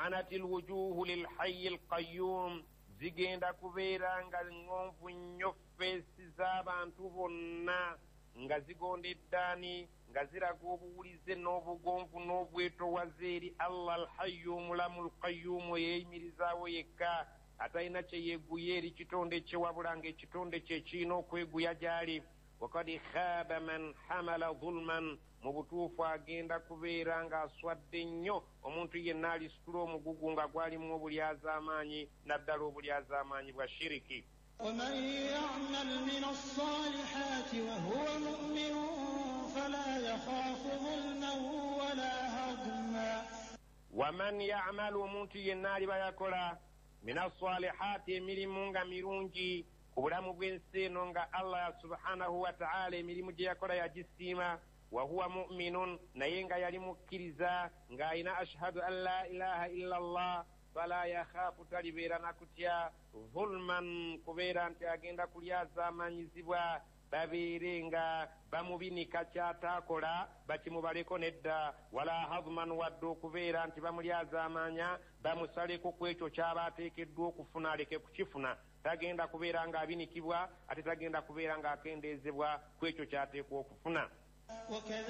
Anati lwujuhu lilhayi lqayum, zigenda kubeera nga ŋŋonvu nnyo feesi z'abantu bonna, nga zigondeddaani, nga ziraga obuwulize n'obugonvu n'obwetowaze eri Allah Alhayyu omulamu, Alqayyumu, eyeyimirizaawo yekka, atalina kye yeeguya eri kitonde kye, wabula ng'ekitonde kye kirina okweguya gy'ali. Wakad khaba man hamala zulman, mu butuufu agenda kubeera ng'aswadde nnyo omuntu yenna alisitula omugugu nga gwalimu obulyazaamaanyi, naddala obulyazaamaanyi bwa shiriki. ومن يعمل من الصالحات وهو مؤمن فلا يخاف ظلما ولا هضما. Waman yamalu, omuntu yenna aliba yakola min assalihaati, emirimu nga mirungi ku bulamu bw'ensi eno, nga Allah subhanahu wataala emirimu gye yakola yagisiima, wahuwa muminun, naye nga yali mukkiriza, ng'alina ashhadu an la ilaha illa Allah, fala yakhaafu, talibeera nakutya zulman, kubeera nti agenda kulyazaamanyizibwa, babeere nga bamubinika kyataakola bakimubaleko nedda, wala hadman, wadde okubeera nti bamulyazaamanya bamusaleko ku ekyo kyaba ateekeddwa okufuna aleke kukifuna. Tagenda kubeera ng'abinikibwa, ate tagenda kubeera ng'akendeezebwa ku ekyo ky'ateekwa okufuna.